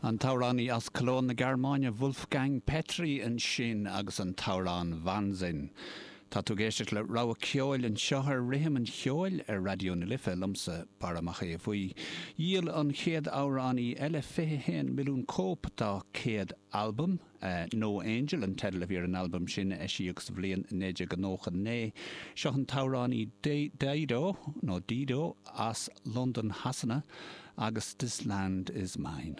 An t-amhránaí as Cologne na Gearmáine Wolfgang Petry ansin agus an t-amhrán Wahnsinn. Tá tú ag éisteacht le rogha ceoil anseo ar Rithim an Cheoil ar Raidió na Life, liomsa, Barra Mac Aodha Bhuí. Dhíol an chéad amhránaí eile 21 milliún cóip dá céad albam. No Angel an teideal a bhí ar an albam sin a eisíodh sa bhliain 1999. Seo an t-amhránaí Dido, nó Dido, as Londain Shasana agus This Land Is Mine.